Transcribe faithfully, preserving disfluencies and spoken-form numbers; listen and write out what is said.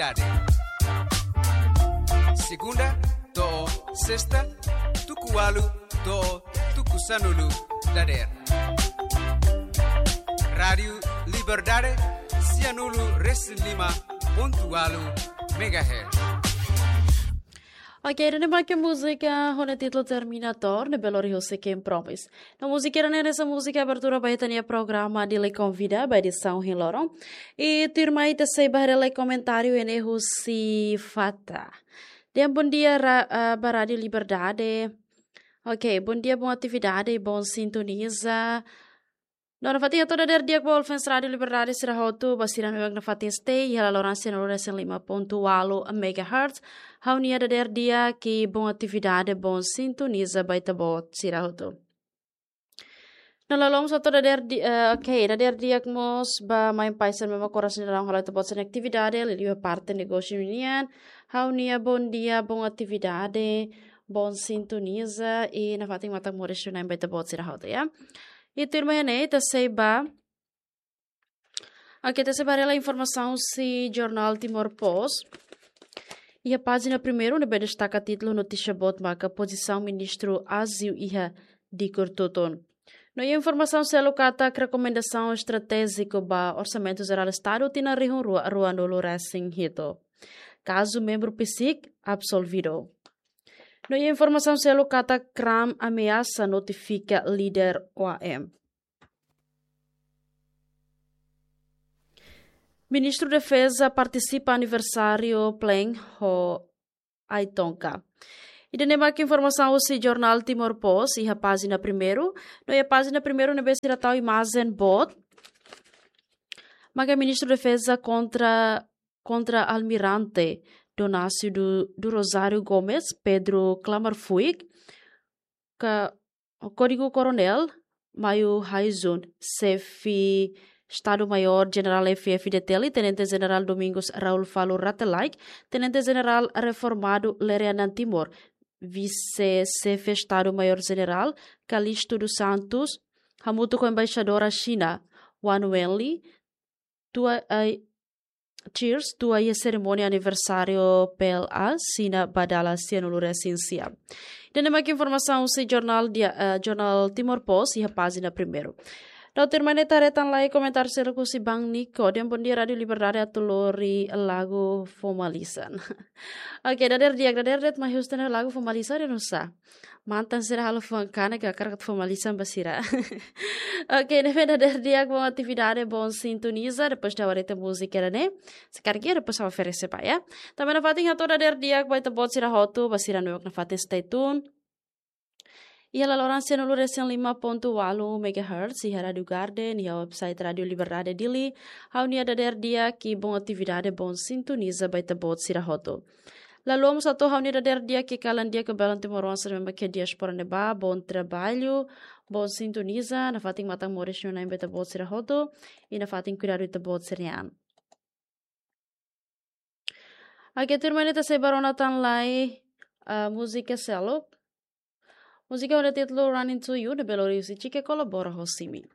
Liberdade. Segunda to'o sesta, tuku ualu to'o tuku sanulu dadeer. Rádiu Liberdade, sianulu resin lima pontu ualu megahertz. Ok, ida-ne'e mak múzika ho títulu Terminator, ne'ebé lori husi Ken Promise. No múzika ida-ne'e hanesan múzika abertura ba ita-nia programa Dili Konvida ba edisaun ohin loron. I tuirmai ita sei ba haree lai komentáriu ida-ne'e husi Fata. Dehan bondia ra-, ah, ba Rádiu Liberdade. Ok, bondia, boa atividade, boa sintoniza. No nafatin hato'o dadeer di'ak ba Olfens Rádiu Liberdade sira hotu, ba sira ne'ebé nafatin stay iha laloran sianulu resin lima pontu ualu megahertz. Ha'u-nia dadeer di'ak, boa atividade, boa sintoniza ba ita-boot sira hotu. No laloos hato'o dadeer di-, eh, ok, dadeer di'ak mós ba Main Paisan, memang koras ni dalam halo ita-boot sira-nia atividade, liuliu parte negósiu nian. Ha'u-nia bondia, boa atividade, boa sintoniza, i nafatin matak moris nafatin ba ita-boot sira hotu, ya. I tuirmai ne'e, ita sei ba. Ok, ita sei ba haree lai informasaun husi jornál Timor Post. Iha pájina primeiru, ne'ebé destaka títulu notísia boot maka pozisaun ministru aziu iha Dicor Tutun. No iha informasaun seluk katak rekomendasaun estratéjiku ba Orsamentu Jerál Estadu tinan rihun rua ruanulu resin hitu. Kazu membru PCIC absolvidu. No iha informasaun seluk katak Kram ameasa notifika líder OAM. Ministru Defeza partisipa aniversáriu Pleng ho Aitonka. Ida-ne'e mak informasaun husi jornál Timor Post iha pájina primeiru. No iha pájina primeiru ne'ebé sira tau imajen boot. Maka Ministru Defeza kontra, kontra Almirante Donácio do, do Rosário Gomes, Pedro Klamar Fuik, ka Kódigu Koronél Maio Haizun, Xefe Estadu Maiór Jenerál F-FDTL, Tenente Jenerál Domingos Raul Falo Rate Laek, Tenente Jenerál Reformadu Lere Anan Timor, Vise-Xefe Estadu Maiór Jenerál Calixto dos Santos, hamutuk ho Embaixadora Xina Wang Wenli, tua, ai, Cheers, tua iha serimónia aniversáriu P L A, Xina ba dala sianulu resin sia. Ida-ne'e mak informasaun husi jornál dia, eh, jornál Timor Post iha pájina primeiru. No tuirmai ne'e ita haree tan lai komentáriu seluk husi Bang Niko, dehan bondia Rádiu Liberdade, atu lori lagu fó malisan. Ok, dadeer di'ak, dadeer de'it mai husu tan lagu fó malisan dehan nusá. Mantan sira halo fuan kanek, hakarak atu fó malisan ba sira. Ok, ne'ebé dadeer di'ak, boa atividade, boa sintoniza, depois ita haree tan múzika ida-ne'e. Se karik iha, depois ha'u oferese ba, ya. Tanba nafatin hato'o dadeer di'ak ba ita-boot sira hotu, ba sira ne'ebé nafatin stay tune iha laloran sianulu resin lima pontu ualu megahertz, iha Rádiu Garden, iha website Rádiu Liberdade Dili. Ha'u-nia dadeer di'ak, boa atividade, boa sintoniza ba ita-boot sira hotu. Laloos hato'o ha'u-nia dadeer di'ak, kalan di'ak ba belun timoroan sira ne'ebé mak iha diáspora ne'ebá, bom trabalho, boa sintoniza, nafatin matak moris nafatin ba ita-boot sira hotu, i nafatin kuidadu ita-boot sira-nia an. Ok, tuirmai ne'e ita sei ba rona tan lai, ah, múzika seluk. Múzika ho títulu Running to You, ne'ebé lori husi Chike kolabora ho Simi.